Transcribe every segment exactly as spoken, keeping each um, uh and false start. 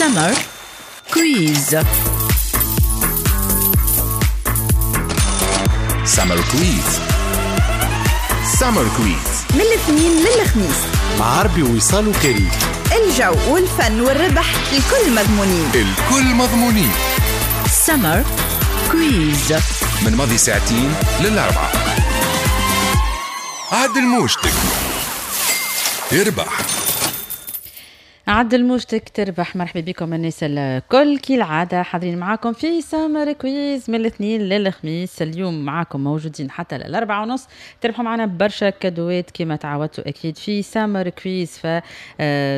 Summer Quiz. Summer Quiz. Summer Quiz من الاثنين للخميس مع عربي ووصال وكريم. الجو والفن والربح الكل مضمونين، الكل مضمونين. Summer Quiz من ماضي ساعتين للأربعة. عدل موجتك يربح. عدل موجتك تربح. مرحبا بكم الناس الكل، كالعادة حاضرين معاكم في Summer Quiz من الاثنين للخميس. اليوم معاكم موجودين حتى للأربعة ونص، تربحوا معنا برشا cadeau ات كما تعودتوا أكيد في Summer Quiz. ف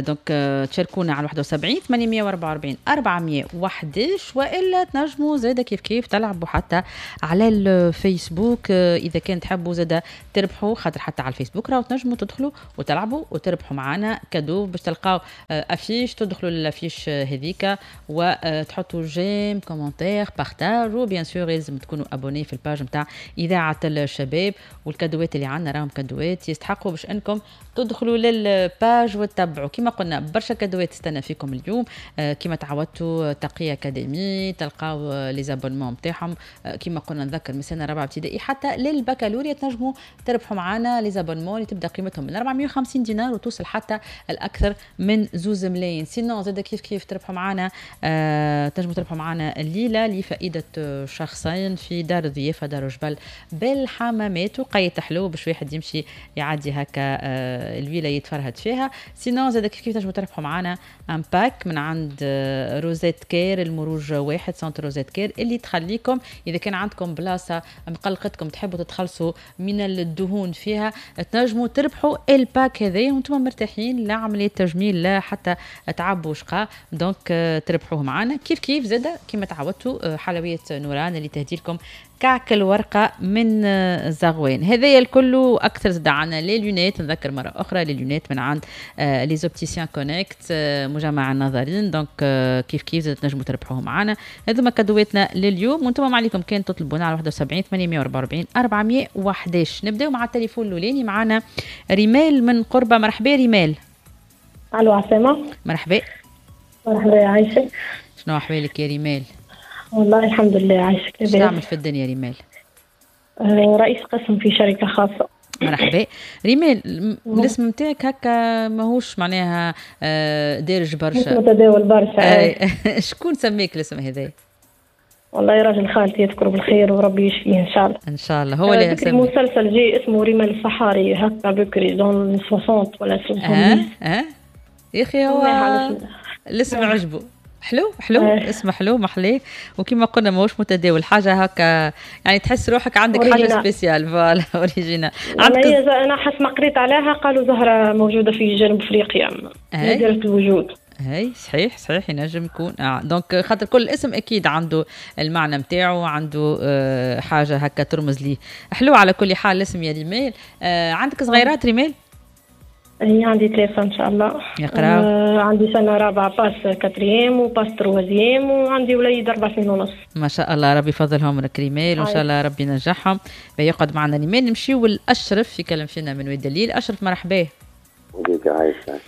donc تشاركونا على واحد وسبعين ثمانمية وأربعة وأربعين أربعمية وحداش، وإلا تنجموا زادة كيف كيف تلعبوا حتى على الفيسبوك إذا كان تحبوا زادة تربحوا، خاطر حتى على الفيسبوك راهو تنجموا تدخلوا وتلعبوا وتربحوا معنا cadeau باش تلقاو affiche، تدخلوا لل affiche هذيك وتحطوا j'aime، commentaire، partage، و bien sûr لازم تكونوا abonnés في ال page نتاع اذاعة الشباب. وال cadeau ات اللي عندنا راهم cadeau ات يستحقوا باش انكم تدخلوا لل page وتتبعوا. كما قلنا برشا cadeau ات تستنى فيكم اليوم، كما تعودتوا تقي اكاديمي تلقاو les abonnements نتاعهم، كما قلنا نذكر من سنة رابعه ابتدائي حتى للبكالوريا تنجموا تربحوا معنا les abonnements اللي تبدا قيمتهم من أربعمية وخمسين دينار وتوصل حتى الاكثر من زوز ملايين. sinon زاد كيف كيف تربحوا معنا، آه تنجموا تربحوا معنا الليلة لفائدة شخصين في دار الضيافة دار جبل بالحمامات، وقيت حلو باش واحد يمشي يعدي هكا آه الويله يتفرهد فيها. sinon زاد كيف كيف تنجموا تربحوا معنا un pack من عند آه روزيت كير المروج واحد centre روزيت كير، اللي تخليكم اذا كان عندكم بلاصة مقلقتكم تحبوا تتخلصوا من الدهون فيها تنجموا تربحوا ال pack هذايا وانتم مرتاحين، لا عملية تجميل لا حتى تعبوا شقاء، donc تربحوه معنا. كيف كيف زاده كما تعودتوا حلويات نوران اللي تهدي لكم كعك الورقة من زغوان. هذايا الكل اكثر زاد عندنا les lunettes، نذكر مرة اخرى les lunettes من عند les opticiens Connect مجمع النظرين، donc كيف كيف زاد تنجموا تربحوه معنا. هذوما cadeau اتنا لليوم، وانتم ما عليكم كان تطلبونا على واحد وسبعين ثمانمية وأربعة وأربعين أربعمية وحداش. نبداو مع التليفون الاولاني، معنا ريمال من قربه. مرحبا ريمال. الو عسامة. مرحبا. مرحبا يا عايشة. شنو احوالك يا ريمال؟ والله الحمد لله عايشك. شنو تعمل في الدنيا ريمال؟ آه رئيس قسم في شركة خاصة. مرحبا ريمال. الاسم نتاعك هكا ماهوش معناها دارج برشا، مش متداول برشا. شكون سميك الاسم هذا؟ والله راجل خالتي يذكره بالخير وربي يشفيه ان شاء الله. ان شاء الله. هو اللي بكري مسلسل جي اسمه ريمال الصحاري هكا بكري dans ستين ولا ستين. اه اه يا اخي هو الاسم عجبه. حلو حلو آه. اسمه حلو محليه، وكما قلنا ماهوش متداول، حاجة هكا يعني تحس روحك عندك حاجة spéciale، voilà originale. عندك انا حسب ما قريت عليها قالوا زهره موجودة في جنوب افريقيا نادرة الوجود. هاي صحيح صحيح ينجم يكون آه. donc خاطر كل اسم اكيد عنده المعنى نتاعو، عنده آه حاجة هكا ترمز ليه. حلو على كل حال الاسم يا ريمال. آه عندك صغيرات ريمال؟ هي عندي ثلاثة إن شاء الله. يقراو؟ آه عندي سنة رابعة passe quatrième و passe troisième، وعندي وليد أربع سنين ونص. ما شاء الله ربي يفضلهم لك ريمال، وإن شاء الله ربي ينجحهم. يقعد معنا ريمال. نمشيو لأشرف يكلم فينا من واد دليل. أشرف مرحبا. وليدي عايشة.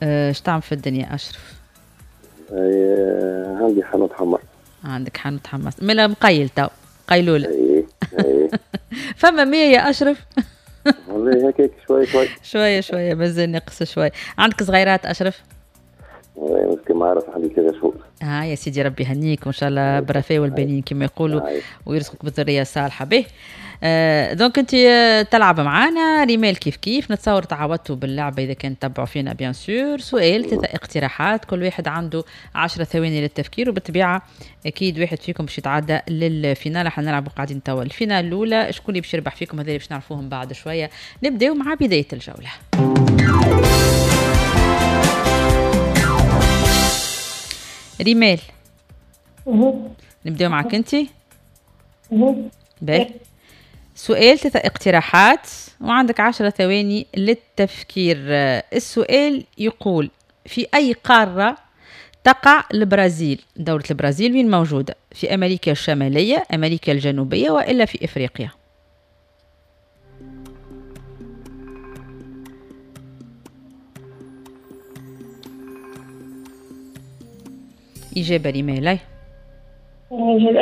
اش تعمل في الدنيا أشرف؟ آه عندي حانوت حمص. عندك حانوت حمص، ملا مقيل تو قيلولة. اي اي. فما مية يا أشرف؟ والله هكاك شوي شوي شوية شوية مازال نقص شوي. عندك صغيرات أشرف؟ والله كما عارف عندي ثلاثة شهور. اه يا سيدي ربي يهنيك وإن شاء الله بالرفاه والبنين كما يقولوا، ويرزقك بالذرية الصالحة. به آه donc أنت تلعب معانا ريمال كيف كيف، نتصور تعودتوا باللعبة إذا كان تبعوا فينا bien sûr. سؤال ثلاثة اقتراحات، كل واحد عنده عشرة ثواني للتفكير، وبالطبيعة أكيد واحد فيكم باش يتعدى لل finale. احنا نلعبوا قاعدين توا ال finale الأولى، شكون اللي باش يربح فيكم هذا اللي باش نعرفوهم بعد شوية. نبداو مع بداية الجولة. ريمال نبداو معك انت. باهي. سؤال ثلاثة اقتراحات وعندك عشرة ثواني للتفكير. السؤال يقول في أي قارة تقع البرازيل؟ دولة البرازيل وين موجودة؟ في أمريكا الشمالية، أمريكا الجنوبية، وإلا في إفريقيا؟ إجابة ريمال.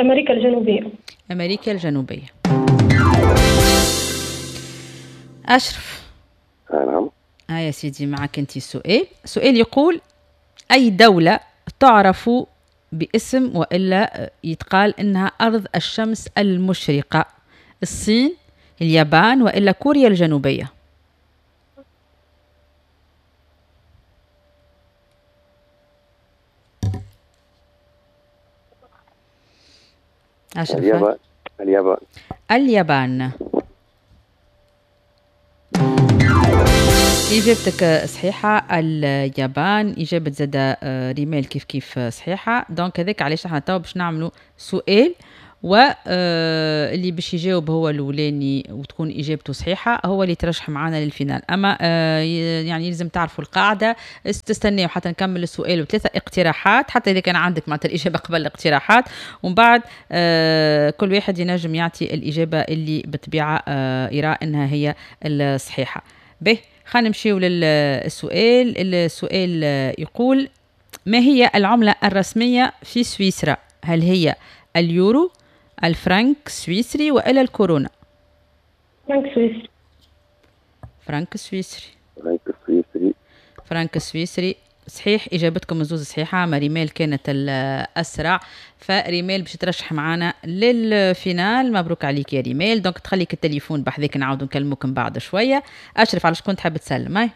أمريكا الجنوبية. أمريكا الجنوبية. أشرف. نعم. آه يا سيدي معك أنت السؤال. سؤال يقول أي دولة تعرف باسم وإلا يتقال إنها أرض الشمس المشرقة؟ الصين، اليابان، وإلا كوريا الجنوبية؟ أشرف. اليابان. اليابان. اليابان. إجابتك صحيحة، اليابان. إجابة زادة ريمال كيف كيف صحيحة. donc هذاك علاش احنا تو باش نعملوا سؤال، واللي باش يجاوب هو الاولاني وتكون اجابته صحيحه هو اللي ترشح معنا لل finale. اما يعني لازم تعرفوا القاعدة، تستناو حتى نكمل السؤال وثلاثة اقتراحات، حتى اذا كان عندك معناتها الاجابة قبل الاقتراحات، ومن بعد كل واحد ينجم يعطي الاجابة اللي بالطبيعة يرى انها هي الصحيحة. به خلينا نمشيو للسؤال. السؤال يقول ما هي العملة الرسمية في سويسرا؟ هل هي اليورو، الفرنك السويسري، وإلا الكورونا؟ فرنك سويسري. فرنك السويسري. فرنك السويسري. فرنك السويسري صحيح. إجابتكم الزوز صحيحة. مريمال كانت الأسرع، فريمال باش ترشح معنا لل finale. مبروك عليك يا ريمال. donc تخليك التليفون بحذاك، نعاودو نكلموك من بعد شوية. أشرف، على شكون تحب تسلم؟ هاي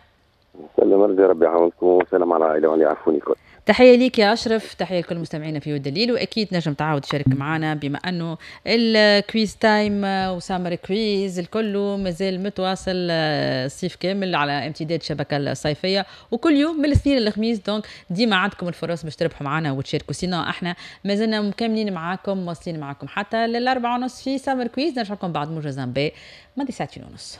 سلم، ربي ربي يعاونكم، وسلام على العائلة واللي يعرفوني الكل. تحية ليك يا أشرف، تحية لكل مستمعينا في والدليل، وأكيد نجم تعاود تشارك معنا بما أنه ال quiz time و summer quiz الكل مازال متواصل الصيف كامل على امتداد الشبكة الصيفية، وكل يوم من الاثنين للخميس. donc ديما عندكم الفرص باش تربحوا معنا وتشاركوا. sinon احنا مازلنا مكملين معاكم، واصلين معاكم حتى للأربعة ونص في summer quiz. نرجع لكم بعد موجز أنباء ماضي ساعتين ونص.